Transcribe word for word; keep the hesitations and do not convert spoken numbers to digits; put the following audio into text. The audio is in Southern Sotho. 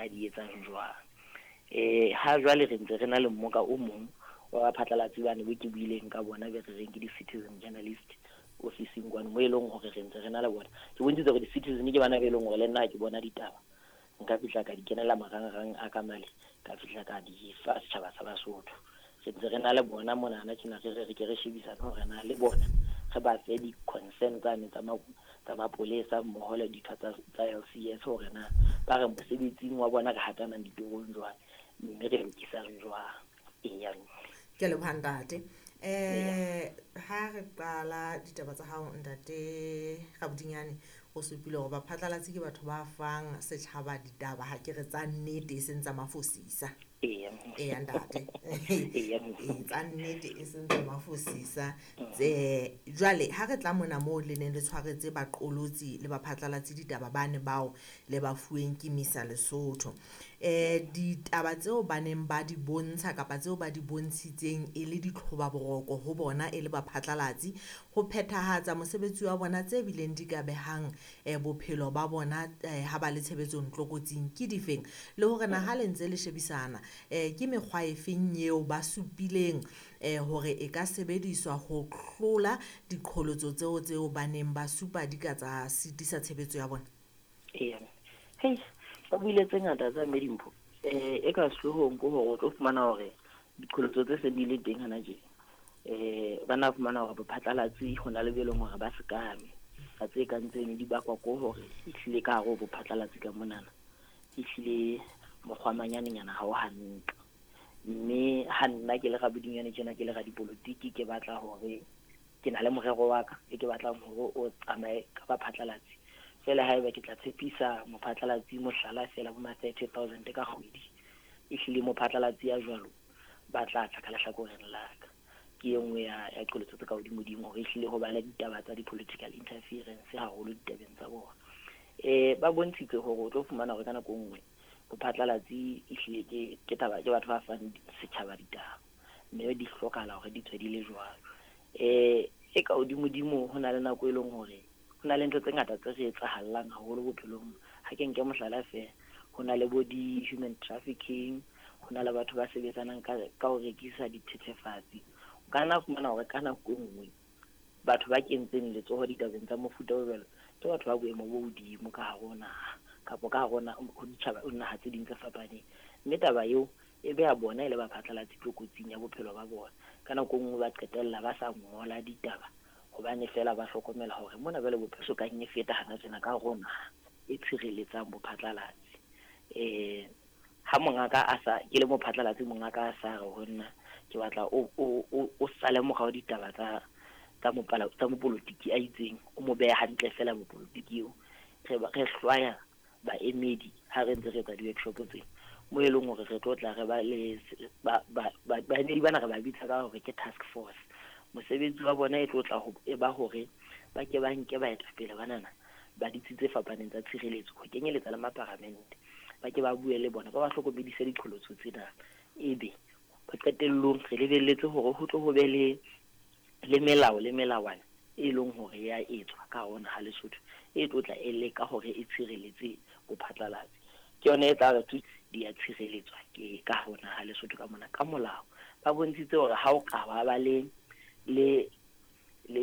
Ka di etsang jwang. Eh ha jwale re ntse re na le mmoka o mong wa baphatlalatsi bane bo ke buileng ka bona, be re reng ke di-citizen journalist ofising kwano, mo e leng hore re ntse re na le bona. Ke bontshitse hore di-citizen ke bana be e leng hore le nna ha ke bona ditaba, nka fihla ka di kenela marangrang a ka male, ka fihla ka di fa setjhaba sa Basotho. Re ntse re na le bona monana tjena, re re re ke re shebisane hore na le bona re ba fe di-concern tsane tsa tsa mapolesa mmoho le ditho tsa tsa L C S, hore na ba re mosebetsing wa bona re hatanang ditorong jwang, mme re lokisang jwang. Eya. Ke a leboha ntate. Eh ha re qala ditaba tsa hao ntate Rabodinyane, o supile hore baphatlalatsi ke batho ba fang setjhaba ditaba, ha ke re tsa nnete e seng tsa mafosisa. Eya. Eya ntate. Eya. Ee, tsa nnete e seng tsa mafosisa. Tse jwale ha re tla mona moo le neng le tshwaretse baqolotsi le baphatlalatsi ditaba bane bao le ba fuweng ke Misa Lesotho. Eh ditaba tseo ba neng ba di bontsha kapa tseo ba di bontshitseng e le ditlhoba boroko ho bona e le baphatlalatsi ho phethahatsa mosebetsi wa bona, tse bileng di ka behang eh bophelo ba bona eh ha ba le tshebetsong tlokotsing ke difeng, le hore na ha le ntse le shebisana eh ke mekgwa e feng eo ba supileng eh hore e ka sebediswa ho hlola diqholotso tseo tseo ba neng ba supa di ka tsa sitisa tshebetso ya bona? Eya. Hei, ba buile tse ngata tsa Medimpho. Eh, e ka sehloohong ke hore o tlo fumana hore diqholotso tse seng di le teng hana tje, eh, ba na fumana hore bophatlalatsi ho na le be leng hore ba sekame. Ka tse kang tseno di bakwa ke hore ehlile ka hare ho bophatlalatsi ka monana, ehlile mokgwa manyanenyana ha o hantle. Mme ha nna ke le Rabodinyane tjena, ke le radipolotiki, ke batla hore ke na le morero wa ka e ke batlang hore o tsamaye ka baphatlalatsi. Feela haeba ke tla tshepisa mophatlalatsi mohlala feela bo ma thirty thousand ka kgwedi, ehlile mophatlalatsi ya jwalo ba tla tla ka lehlakoreng la ka. Ke e nngwe ya, ya qholotso tse ka hodimodimo hore ehlile ho ba le ditaba tsa di-political interference haholo ditabeng tsa bona. Eh, ba bontshitse hore o tlo fumana hore ka nako e nngwe bophatlalatsi ehlile ke, ke taba, ke batho ba fang setjhaba ditaba, mme di hlokahala hore di tswe di le jwalo. Eh, e ka hodimodimo ho na le nako e leng hore ho na le ntho tse ngata tse re etsahallang haholo bophelong. Ha ke nke mohlala feela, ho na le bo di-human trafficking, ho na le batho ba sebetsanang ka, ka ho rekisa dithethefatsi. O ka nna fumana hore ka nako e nngwe batho ba kentseng letsoho ditabeng tsa mofuta o jwalo ke batho ba boemo bo hodimo ka hare ho naha, kapa ka hare ho na-, ho ditjhaba, ho naha tse ding tse fapaneng. Mme taba eo e beha bona e le baphatlalatsi tlokotsing ya bophelo ba bona. Ka nako e nngwe ba qetella ba sa ngola ditaba hobane feela ba hlokomela hore mona jwale bophelo so kang e feta hana tjena ka hare ho naha e tshireletsang bophatlalatsi. Eh, ha mongaka a sa, ke le mophatlalatsi, mongaka a sa re ho nna ke batla o, o, o, o sale morao ditaba tsa, tsa mopala, tsa mopolotiki a itseng, o mo behe hantle feela mopolotiki eo. Re ba, re hlwaya baemedi ha re ntse re etsa di-workshop tsena, mo e leng hore re tlo tla re ba le se-, ba, ba, ba, baemedi bana re ba bitsa ka hore ke task force. Mosebetsi wa bona e tlo tla ho, e ba hore ba ke ba nke baetapele banana ba ditsi tse fapaneng tsa tshireletso, ho kenyeletsa le maparamente, ba ke ba bue le bona, ba ba hlokomedise diqholotso tsena. Ebe qetellong re lebelletse hore ho tlo ho be le, le melao le melawana e leng hore ya etswa ka hare ho naha Lesotho, e tlo tla e leka hore e tshireletse bophatlalatsi. Ke yona e tla re thusa di a tshireletswa ke ka hare ho naha Lesotho ka mona ka molao. Ba bontshitse hore ha o ka ba ba le, le